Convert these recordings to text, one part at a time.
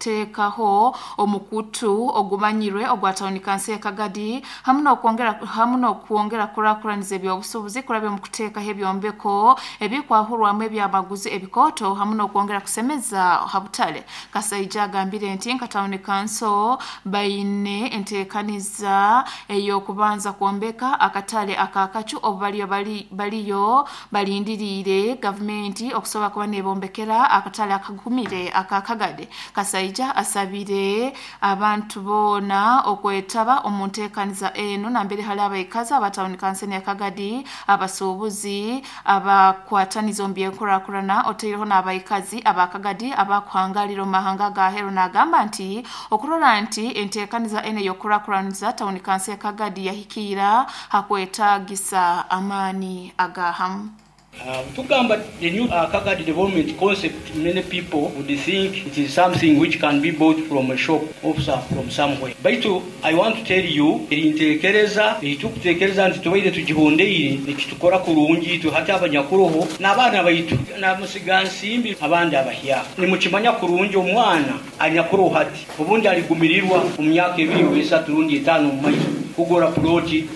okuteekaho omukutu ogumanyirwe ogwa tawuni kanso ya Kagadi hamu n'okwongera kurakuraniza ebyobusuubuzi kurabya omu kuteekaho ebyombeko ebikwahurwamu ebyamaguzi ebikooto hamu n'okwongera kusemeza ha butale. Kasaija agambire nti nka tawuni kanso baine enteekaniza ey'okubanza kwombeka akatale akakacu obu baliyo baliyo balindiriire gavumenti okusobola kuba nebombekera akatale akagumire aka Kagadi. Kasaija asabire abantu boona okwetaba omu nteekaniza enu nambere hali abaikazi aba tawuni kanso ya Kagadi, abasuubuzi, abakwataniza omu byenkurakurana, otaireho n'abaikazi aba Kagadi abakuhangalira omu mahanga ag'aheeru, n'agamba nti okurora nti enteekaniza enu ey'okukurakuraniza tawuni kanso ya Kagadi yahikiira hakwetaagisa amaani aga hamu. Tugamba the new Kagadi development concept, many people would think it is something which can be bought from a shop or from somewhere. Baitu I want to tell you, eri ntekereza eitukutekereza nti tubaire tugihondeire nikitukora kurungi itwe hati abanyakuroho n'abaana baitu namusigansimbi abandi abahyaka. Nimukimanya kurungi omwana anyakuroho hati obundi aligumirirwa omu myaka 2 oba 3 rundi 5 omu maiso kugura ploti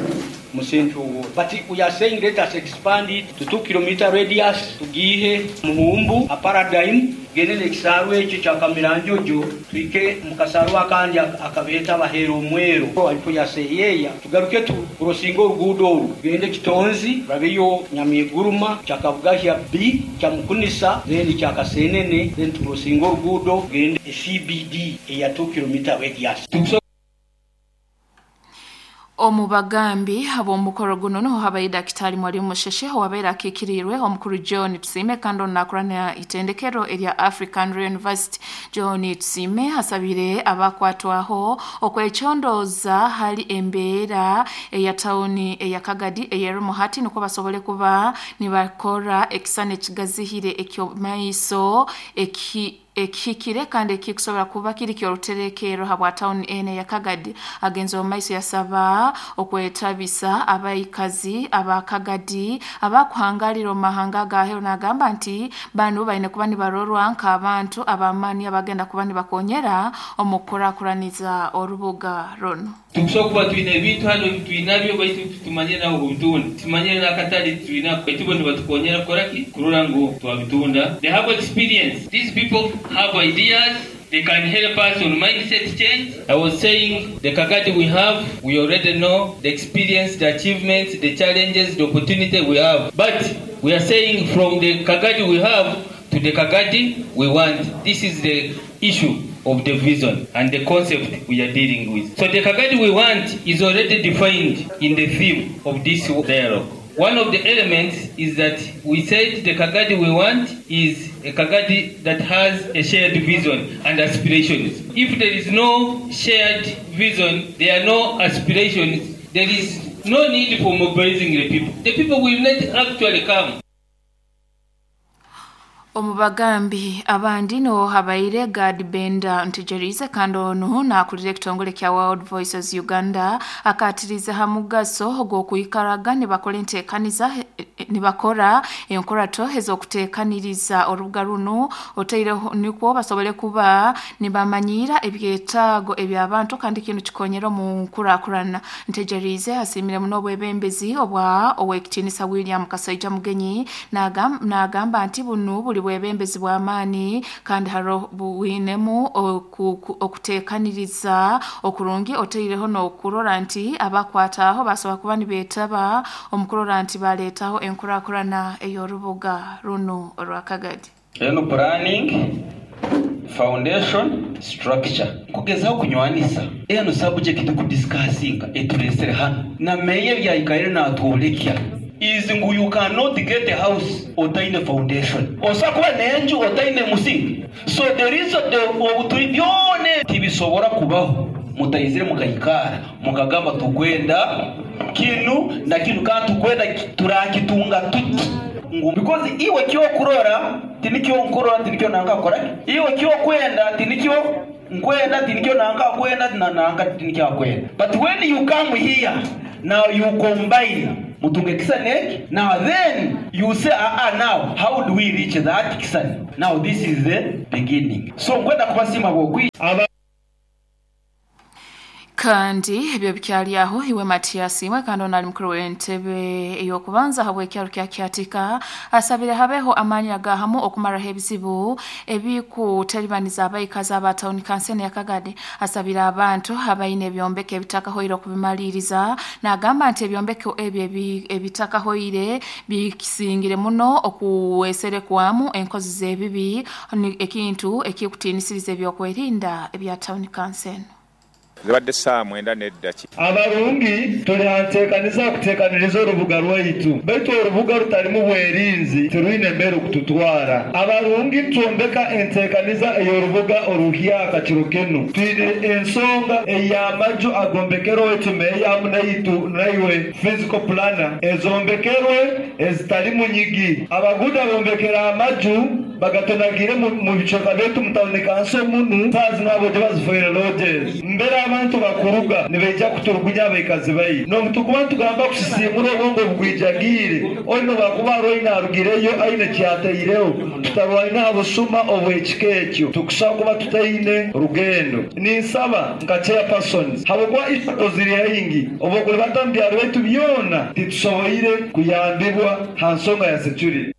mu Central Ward. But we are saying let us expand it to 2 kilometer radius, tugiihe Muhumbu a Paradigm, tugende n'ekisaaru ekyo ekya Kamiranjojo, tuhike mu kasaaru akandi akabeeta Baheera Omwero alifo ya Seeyeeya, tugaruke tukurosinga oruguudo oru tugende Kitonzi, turabeyo Nyamiguruma, Kyakabugahya B, Kyamukunisa, then Kyakasenene, then tukurosinga oruguudo tugende CBD eya 2 kilometer radius. Omu bagambi ab'omukoro guno niho habaire Dakitari Mwalimu Musheshe owabaire akiikiriirwe omukuru John Tusiime kandi onu nakurana itendekero erya African University. John Tusiime asabire abakwatwaho okwecondooza hali embeera eya tawuni eya Kagadi eyerimu hati nukwo basobole kuba nibakora ekisani ekigazihire eky'omumaiso eki ekihikire kandi ekikusobora kuba kiri ky'oruterekerro habwa tawuni enu eya Kagadi. Agenze omu maiso yasaba okwetabisa abaikazi aba Kagadi abakuhangalira omu mahanga ag'aheeru, n'agamba nti banu baine kuba nibarorwa nk'abantu ab'amaani abagenda kuba nibakonyera omu kukurakuraniza orubuga runu. Tukusobola kuba twine ebintu hano twinabyo, baitu tumanyire naho kubitunda, tumanyire n'akatale twina, baitu bo nibatukonyera kukora ki kurora ngu twabitunda. They have experience. These people have ideas. They can help us on mindset change. I was saying the Kagadi we have, we already know the experience, the achievements, the challenges, the opportunity we have, but we are saying from the Kagadi we have to the Kagadi we want. This is the issue of the vision and the concept we are dealing with. So the Kagadi we want is already defined in the theme of this dialogue. One of the elements is that we said the Kagadi we want is a Kagadi that has a shared vision and aspirations. If there is no shared vision, there are no aspirations, there is no need for mobilizing the people. The people will not actually come. Omu bagambi abandi niho habaire Gad Benda Ntegerize kandi onu nakulira ekitongole kya World Voices Uganda, akatirize ha mugaso ogw'okwikaraga nibakora enteekaniza, nibakora enkorato ez'okuteekaniriza orubuga runu, otaireho nikwo basobole kuba nibamanyiira ebyetaago eby'abantu kandi kinu kikonyera omu nkurakurana. Ntegerize asiimire muno obwebembezi obwa Owekitiinisa William Kasaija Mugenyi, n'agamba nti bunu buli bwebembezi bw'amaani kandi haroho bwinemu okuteekaniriza okurungi, otaireho n'okurora nti abakwataho basobora kuba nibeetaba omu kurora nti baleetaho enkurakurana ey'orubuga runu orwa Kagadi. Eno planning, foundation, structure kugezaho kunywanisa eno subject kudiscussinga eturesere hano na meya ebyayikaire natwolekya is ngu you cannot get a house otaine foundation, osobola kuba nenju otaine musingi. So there is the obuturi byona tibisobora kubaho mutaizire mukaikara mukagamba tukwenda kinu na kinu kandi tukwenda turakitunga tuti, ngu because iwe kyokurora tinikyo nkurora, tinikyo nanka akora, iwe kyokwenda tinikyo nkwenda, tinikyo nanka akwenda na nanka tinikyo akwenda. But when you come here now, you combine. Mutunge kisani eki. Now then you say, now how do we reach that kisani? Now this is the beginning. So nkwenda kubasima bwokwi. Kandi ebyo bikyali aho iwe Matias imwe kandi onali mukuru w'entebe ey'okubanza habw'ekyalo kya Kyatika asabire habeho amaanyi agahamu okumaraho ebizibu ebikutalibaniza abaikazi aba tawuni kansene ya Kagadi. Asabire abantu abaine ebyombeko ebitakahoire okubimaliriza, n'agamba nti ebyombeko ebyo ebitakahoire bikisingire muno okuweserekwamu enkozi z'ebibi, ekintu ekikutiinisiriza ebyokwerinda ebya tawuni kansene. Zibadde ssaawa 9 n'eddaki. Abarungi tuli hanteekaniza kuteekaniriza orubuga rwaitu, baitu orubuga rutalimu bwerinzi tirwine mbere kututwara. Abarungi twombeka enteekaniza ey'orubuga oruhyaka kiro kinu. Twine ensonga ey'amaju agombekerwe tumeeyamu naitu naiwe physical planner ezombekerwe ezitalimu nyigi. Abaguda bombekera amaju bagatonagire mu bicweka byaitu mutawuni kanso munu saazi nabo bazifoire lodges. Mbere abantu bakuruga nibaija kuturugunya abaikazi bai n'obutukuba ntugamba kusisimura obwongo bugwijagiire oino bakuba aroine arugireyo aine kyateireho tutarwaine aha busuma obw'ekika ekyo tukusaba kuba tutaine rugendo. Ninsaba nka chairpersons habwokuba issues ziri haingi obwokulibata mu byaro byaitu byona titusoboire kuyambibwa ha nsonga ya security.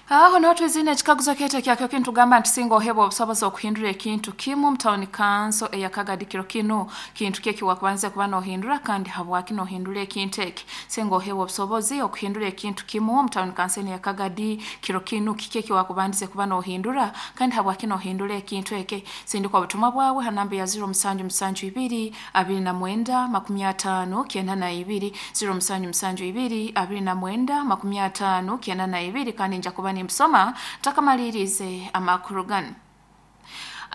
Aho niho twizine ekikaguzo kyaitu ekyakyo kintugamba nti singa ohebwa obusobozi okuhindura ekintu kimu mutawuni kanso eya Kagadi kiro kinu, kintu ki ekiwakubanza kuba nohindura kandi habwaki nohindura ekintu eki? Singa ohebwa obusobozi okuhindura ekintu kimu mutawuni kanso eya Kagadi kiro kinu, kiki ekiwakubandize kuba nohindura kandi habwaki nohindura ekintu eki? Sindika obutumwa bwawe ha namba ya 0772 29 50 92, 0772 29 50 92, kandi nja kuba nimusoma takamalirize amakuru gano.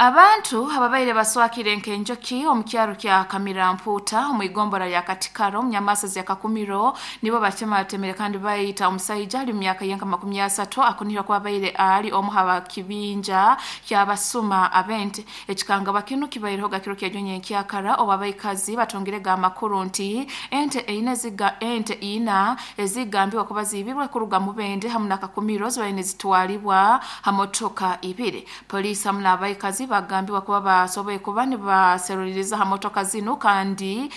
Abantu ababaire baswakire nkenjoki omu kyaro kya Kamiramputa omu igombora lya Katikaro omu nyamasa ya Kakumiro nibo batematemere kandi bayita omusaija ali mu myaka yenka 30 akunihira kuba baire ali omu haba kibinja kyabasuma abente. Ekikanga bakinu kibaireho gakiro kyajonye nkyakara oba abaikazi batongere amakuru nti ente eine ziga ente ina ezigambibwa kuba zibirwe kuruga mu bende hamu na Kakumiro zibaine zitwalibwa hamotoka ibiri. Polisi hamu n'abaikazi bagambibwa kuba basoboye kuba nibaseruliriza ha motoka zinu kandi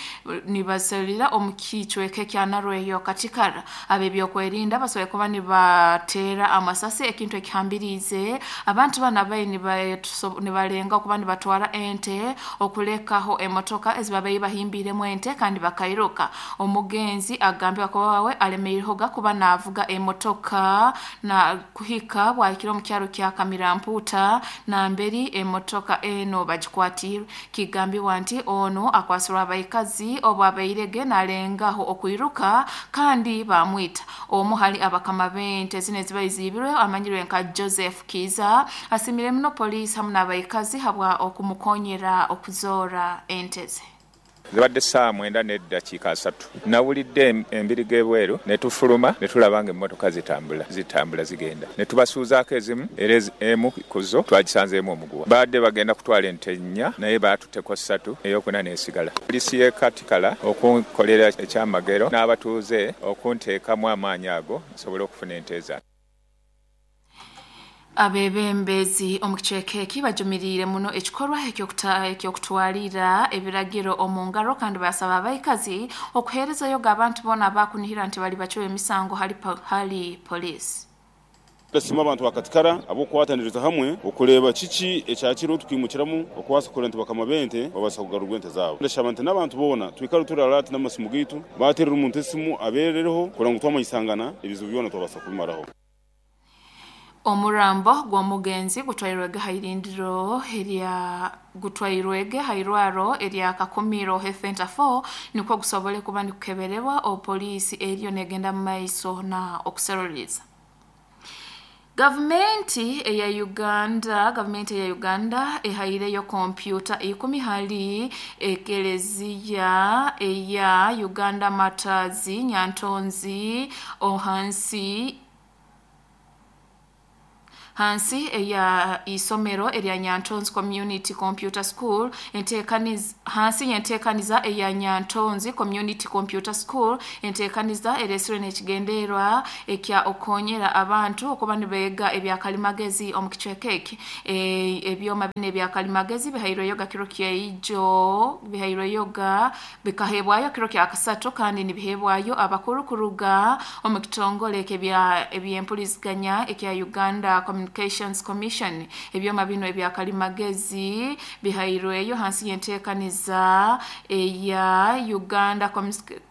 nibaserulira omu kicweka kya Narweyo Katikara. Ab'ebyokwerinda basoboye kuba nibateera amasasi ekintu ekihambiriize abantu bana bayi nibalenga okuba nibatwara ente okulekaho emotoka ezibabaire bahimbiremu ente kandi bakairuka. Omugenzi agambibwa kuba wawe alemeirehoga kuba naavuga emotoka na kuhika bwahikire omu kyaro kya Kamiramputa namberi emotoka eno bagikwatirwe. Kigambibwa nti ono akwasirwa abaikazi obu abairege nalengaho okwiruka kandi bamwita. Omu hali abakama b'ente zino ezibaire ziibirwe amanyirwe nka Joseph Kiza asimire muno poliisi hamu n'abaikazi habwa okumukonyera okuzoora ente ze. Zibadde ssaawa 9 n'eddakiika 3. Nawulidde embirigo ebweru ne tufuluma ne tulaba ng'emmotoka zitambula zigenda. Ne tubasuuzaako ezimu era emu ku zo twagisanzeemu omuguwa. Baadde bagenda kutwala ente 4 naye baatutteko 3 ey'okuna n'esigala. Poliisi y'e Katikala okunkolera ekyamagero n'abatuuze okunteekamu amaanyi ago nsobole okufuna ente zange. Abebembezi omu kicweka eki bajumiriire muno ekikorwa eky'okutwalira ebiragiro omu ngaro kandi basaba abaikazi okuheerezayo abantu boona abakunihira nti bali bacwa emisango hali poliisi. Ndasiima abantu ba Katikara ab'okukwataniriza hamwe okureeba kiki ekyakiriho tukwimukiramu okubaasa kureba nti bakama b'ente babaasa kugarurwa ente zaabo. Ndashaba nti n'abantu boona twikare turi alert n'amasimu gaitu, baateerera omuntu esimu abeerereho kureba ngu twamanyisangana ebizibu byona twabaasa kubimaraho. Omurambo gw'omugenzi gutwairwege hairindiro erya gutwairwege hairwaro erya Kakumiro Health Center 4 nikwo gusobole kuba nikukeberebwa opoliisi eriyo negenda mu maiso na okuseruliriza. Gavumenti eya Uganda ehaireyo kompyuta 10 hali ekeleziya eya Uganda Matazi Nyantonzi ohansi Hansi eya isomero erya Nyantonzi Community Computer School entekaniza hansi yentekaniza eya Nyantonzi Community Computer School entekaniza eresirwe n'ekigenderwa ekya okonyera abantu okuba nibeega ebyakalimagezi omu kicweka eki. Ebyoma bino ebyakalimagezi bihairweyo ga kiro kyaijo, bihairweyo ga bikahebwayo kiro kya kasatu, kandi nibihebwayo abakuru kuruga omu kitongole ebyempuliziganya ekya Uganda Communications Commission. Ebyoma bino ebyakalimagezi bihairweyo hansi y'enteekaniza eya Uganda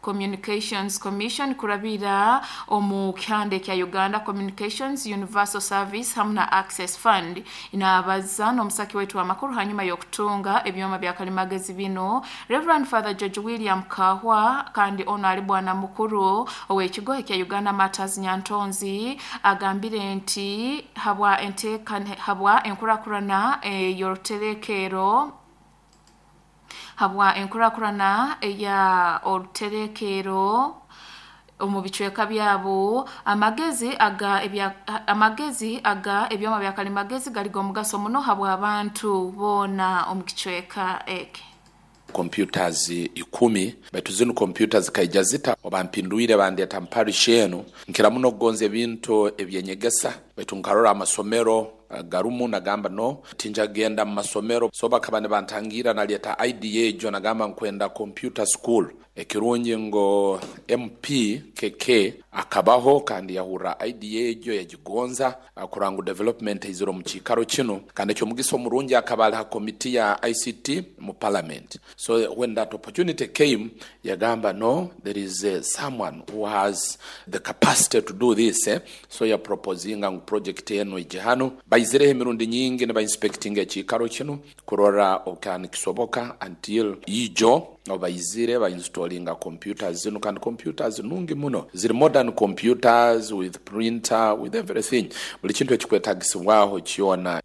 Communications Commission kurabira omu kihanda ekya Uganda Communications Universal Service hamu na Access Fund. Inabaza n'omusaki waitu w'amakuru hanyuma y'okutunga ebyoma byakalimagezi bino, Reverend Father George William Kahwa, kandi ono ali bwana mukuru ow'ekigo ekya Uganda Matters Nyantonzi, agambire nti habwa enkurakurana ey'oruterekero, habwa enkurakurana eya oruterekero omu bicweka byabo, amagezi aga ebyoma bya kalimagezi gali g'omugaso muno habwa abantu boona omu kicweka eki. Computers 10, baitu zinu computers kaija zita obampinduire bandeta mparish enu nkira muno kugonza ebintu ebyenyegesa, baitu nkarora amasomero garumu nagamba no tinja genda mu masomero, so bakaba nibantangira naleta idea ejo nagamba nkwenda computer school. Ekirungi ngo MP KK akabaho kandi yahura idea ejo yagigonza kurangu development iziro mu kikaro kino, kandi ekyo mugisa omurungi akaba ali ha committee ya ICT mu parliament. So when that opportunity came, yagamba no, there is someone who has the capacity to do this, So ya proposinga ngu project eno ije hano. Baizireho emirundi nyingi ne ba inspecting ekikaro kino kurora okani kisoboka until ijo obaizire ba installinga computers zino, kandi computers nungi muno, ziri modern computers with printer, with everything, buli kintu ekikwetagisibwaho kyona.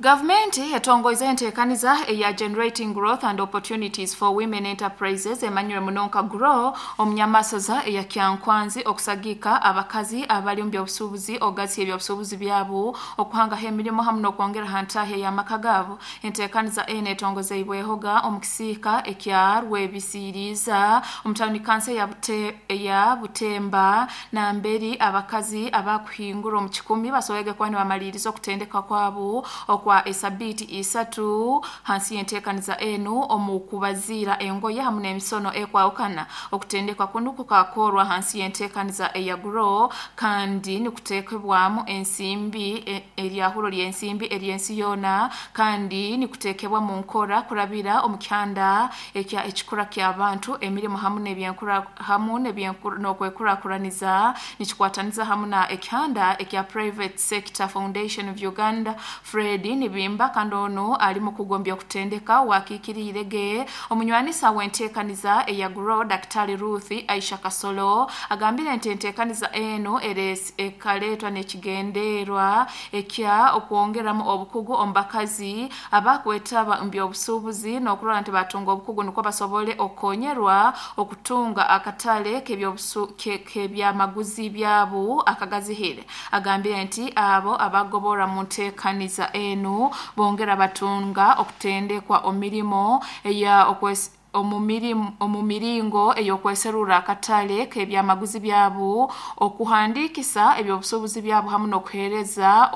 Gavumenti etongoize enteekaniza eya Generating Growth and Opportunities for Women Enterprises emanyire muno nka GROW omunyamasaza eya Kyankwanzi okusagika abakazi abali mu byobusuubuzi ogazi ebyobusuubuzi byabo okuhangaho emirimu hamu n'okwongera ha ntaahi ey'amaka gaabo. Enteekaniza eno etongozeibwehoga omu kisiika ekya Rwebisiiriiza omu tawuni kanso eya Butemba, namberi abakazi abakuhingura omu 10 basoboige kuba nibamaliriza okutendeka kwabo okwa esabiti 3 hansi y'enteekaniza enu omu kubaziira engoye hamu n'emisono ekwawukana. Okutendekwa kuno kukakorwa hansi y'enteekaniza eya GROW kandi nikuteekebwamu ensimbi eryahuro ly'ensimbi ery'ensi yoona, kandi nikuteekebwa mu nkora kurabira omu kihanda ekya ekikura ky'abantu emirimu hamu n'okwekurakuraniza, nikikwataniza hamu na ekihanda ekya Private Sector Foundation of Uganda. Fred Nibimba kandi ono ali mu kugombya okutendeka wakiikiriirege omunywanisa w'enteekaniza eya GROW Daktari Ruth Aisha Kasolo agambire nti enteekaniza eno ekaletwa n'ekigenderwa ekya okwongeramu obukugu omu bakazi abakwetaba mu byobusuubuzi n'okurora nti batunga obukugu nukwo basobole okukonyerwa okutunga akatale k'ebyamaguzi byabo akagazihire. Agambire nti abo abagobora mu nteekaniza enu bongera batunga okutendekwa omirimo eya omu miringo ey'okweserura akatale k'ebyamaguzi byabo, okuhandikisa ebyobusuubuzi byabo hamu n'okuheereza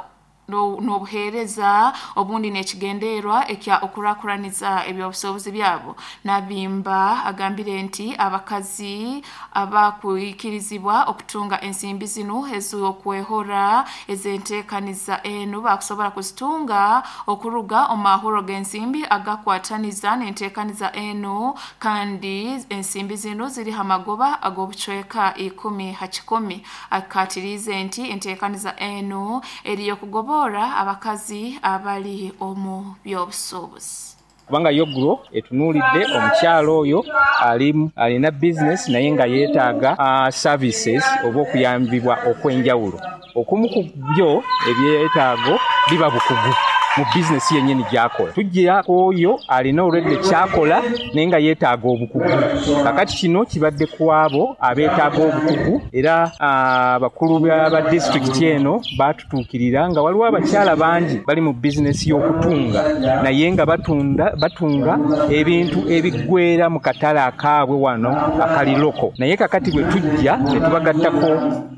n'obuheereza obundi n'ekigenderwa ekya okurakuraniza ebyobusuubuzi byabo. Nabimba agambire nti abakazi abakwikirizibwa okutunga ensimbi zinu ez'okwehora ez'enteekaniza enu bakusobora kuzitunga okuruga omu mahuro g'ensimbi agakwataniza n'enteekaniza enu, kandi ensimbi zinu ziri ha magoba ag'obucweka 10 ha 10. Akatiriize nti enteekaniza enu eriyo kugobora abakazi abali omu byobusuubuzi. Kubanga yo GROW etunuulidde omukyalo oyo alina business naye nga yeetaaga services oba okuyambibwa okw'enjawulo. Okumu ku byo ebyetaago biba bukugu. mu bizinesi yennyini gy'akola. Tujja oyo alina olwedde kyakola naye nga yeetaaga obukugu. Kakati kino kibadde ku abo abeetaaga obukugu, era abakulu ba disitulikiti eno baatutuukirira nga waliwo abakyala bangi bali mu bizinesi y'okutunga naye nga batunga ebintu ebiggwera mu katale akaabwe wano akali loko. Naye kakati bwe tujja ne tubagattako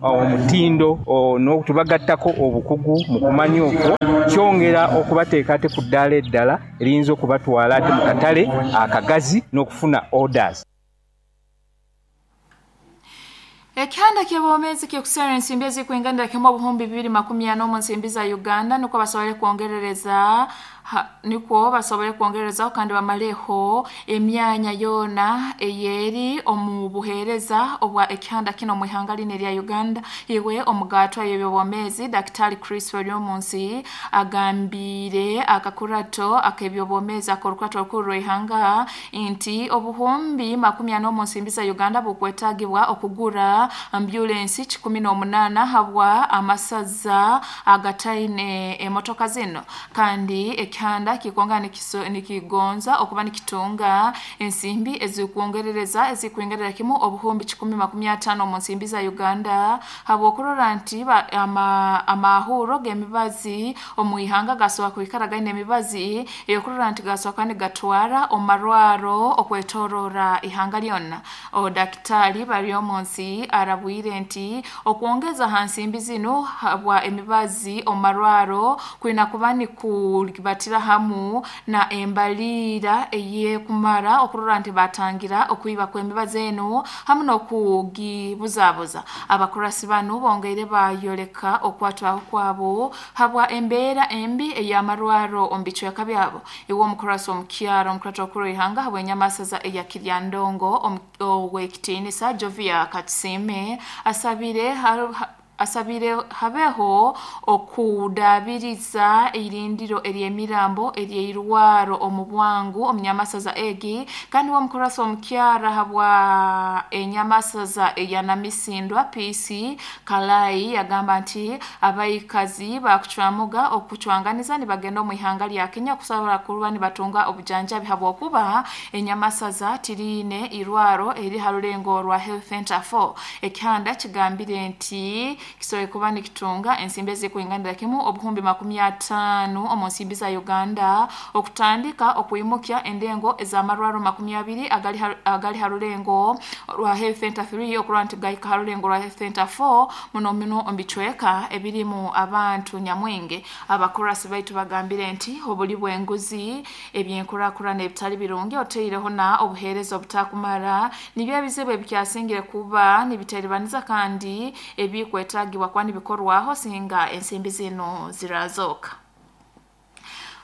omutindo n'otubagattako obukugu mu kumanya okwo, kyongera okubateeka ate ku ddaala eddala eriyinza okubatwala ate mu katale akagazi n'okufuna orders. Ekihanda ky'obwomeezi ky'okuseera ensimbi ezikuinganira kimu 2040 mu nsimbi za Uganda nukwo basobole kwongererezaho kandi bamaleho emyanya yoona eyeri omu buheereza obwa ekihanda kino mu ihanga lino erya Uganda. Iwe omugaatwa y'ebyobwomeezi Daktari Chris Baryomunsi agambire akakurato ak'ebyobwomeezi ak'orukurato orukuru rw'ihanga nti 40,000 mu nsimbi za Uganda bukwetaagibwa okugura ambulensi 18 habwa amasaza agataine emotoka zino, kandi ekihanda kikonga nikigonza okuba nikitunga ensimbi ezikuongerereza ezikuingerera kimu 150,000 mu nsimbi za Uganda habwokurora nti amahuro g'emibazi omu ihanga gasobola kwikara gaine emibazi eyokurora nti gasobola nigatwara omarwaro okwetorora ihanga lyonna. Daktari Baryomunsi arabwire nti okwongeza ha nsimbi zino habwa emibazi omarwaro kwina kuba nikubatira hamu na embaliira eyekumara okurora nti batangira okwiba kw'emibazi eno hamu n'okugibuzabuza. Abakurasi bano bongeire bayoleka okwatwaho kwabo habwa embeera embi ey'amarwaro omu bicweka byabo. Iwe omukurasi omukyaro omukurato okuru ihanga habwa enyamasaza eya Kiryandongo ow'ekitiinisa Jovia Katusime asabire habeho okudabiriza irindiro ery'emirambo ery'eirwaro omu bwangu omu nyamasaza egi, kandi w'omukurasi omukyara habwa enyamasaza eya Namisindwa PC Kalai yagamba nti abaikazi bakucwamuga okucwanganiza nibagenda omu ihanga lya Kenya kusobola kuba nibatunga obujanjabi habwokuba enyamasaza tiriine irwaro eri ha rulengo rwa Health Center 4. Ekihanda kigambire nti kisobola kuba nikitunga ensimbi ezikuinganira kimu 50,000 omu nsimbi za Uganda okutandika okuimukya endengo ez'amarwaro 20 agali ha rulengo rwa Health Center 3 okurora nti gahika ha rulengo rwa Health Center 4 muno muno omu bicweka ebirimu abantu nyamwingi. Abakurasi baitu bagambire nti obuli bw'enguzi, ebyenkurakurana ebitali birungi oteireho na obuheereza obutakumara nibyo ebizibu ebikyasingire kuba nibiteribaniza kandi ebikwetagibwa kuba nibikorwaho singa ensimbi zino zirazoka.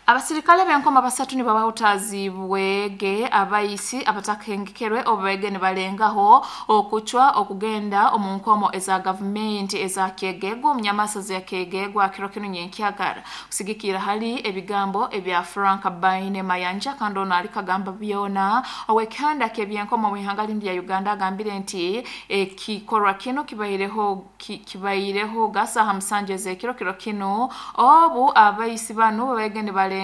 Abasirikale b'enkoma basatu nibabahutazibwege abaisi abatakengekerwe obwege nibalengaho okucwa okugenda omu nkomo eza gavumenti eza Kyegegwa omu nyamasaza ya Kyegegwa kiro kinu nyenkyagara kusigikira hali ebigambo ebya Frank Baine Mayanja, kandi ono ali kagamba byona ow'ekihanda ky'ebyenkomo mu ihanga lindi lya Uganda agambire nti ekikorwa kino kibaireho gasaha 7 ez'ekiro kiro kino obu abaisi banu babege nibalengaho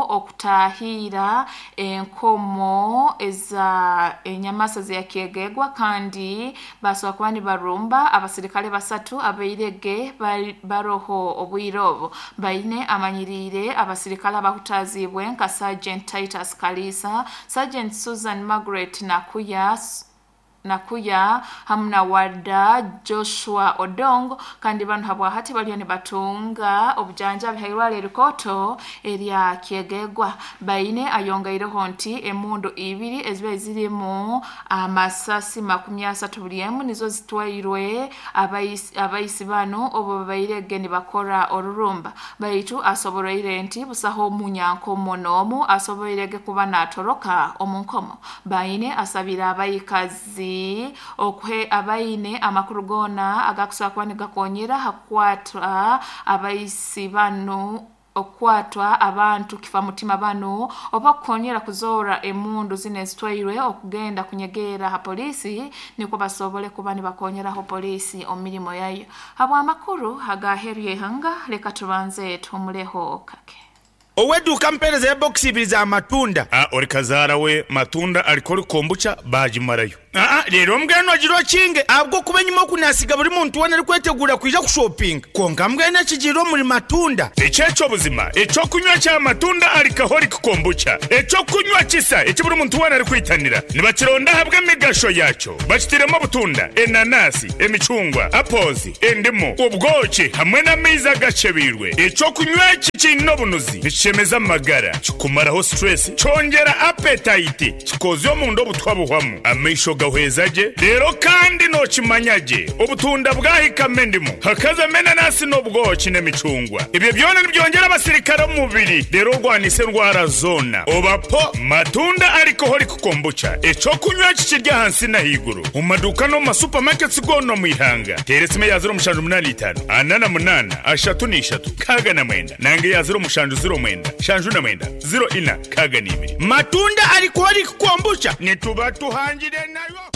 okutahira enkomo eza enyamasaza ya Kyegegwa, kandi basobola kuba nibarumba abasirikale basatu abairege baroho obwire obo. Baine amanyirire abasirikale abahutazibwe nka Sergeant Titus Kalisa, Sergeant Susan Margaret Nakuya hamu na Wada Joshua Odongo, kandi bano habwahati baliyo nibatunga obujanjabi hairwara erikoto erya Kyegegwa. Baine ayongeireho nti emundu ibiri eziba zirimu amasasi 30 buli emu nizo zitwairwe abaisi bano obo babairege nibakora orurumba. Baitu asoboroire nti busaho omunyankomo n'omu asoboirege kuba natoroka omu nkomo. Baine asabira abaikazi okuhe abaine amakuru gona agakusobola kuba nigakonyera hakukwatwa abaisi bano okwatwa abantu kifa mutima bano oba kukonyera kuzora emundu zino ezitwairwe okugenda kunyegera ha polisi niko basobole kuba nibakonyeraho polisi omu mirimo yayo. Habwa amakuru agaheru y'ihanga, leka tubanze tumuleho kake. Ow'edduuka mpeereza ya bokisi ibiri za matunda. A Ori kazaara we matunda alcoholic kombucha baagimarayo. Aa Reero mbwenu ogira okinge ahabw'okuba enyima oku naasiga buri muntu weena arikwetegura kwija kushopinga. Kwonka mbwenu ekigiire omuri matunda. Eki eky'obuzima eky'okunywa kya matunda alcoholic kombucha, eky'okunywa kisa eki buri muntu weena arikwitanira. Nibakironda ahabw'emigasho yaakyo. Bakitiremu obutunda, enanasi, emicungwa, apples, endimu, obwoki hamwe n'amaizi agakyebeirwe. Eky'okunywa eki kiine obunuzi, nikishemeza amagara, kikumaraho stress, kyongyera appetite, kikozya omunda obutwa buhwamu, amaisho gahweza gye, reero kandi nookimanya gye obutunda bwahikamu endimu, hakazamu enanasi n'obwoki n'emicungwa. Ebyo byona nibyongyera abasirikare omu mubiri reero orwanise endwara zoona. Oba po Matunda Alcoholic Kombucha, eky'okunywa eki kiri ahansi n'ahaiguru omu maduuka n'omu ma supermarkets goona omu ihanga. Teera esimu eya 0785 48 33 69 nanga eya 0709 79 04 62. Matunda Alcoholic Kombucha nituba tuhangire nayo.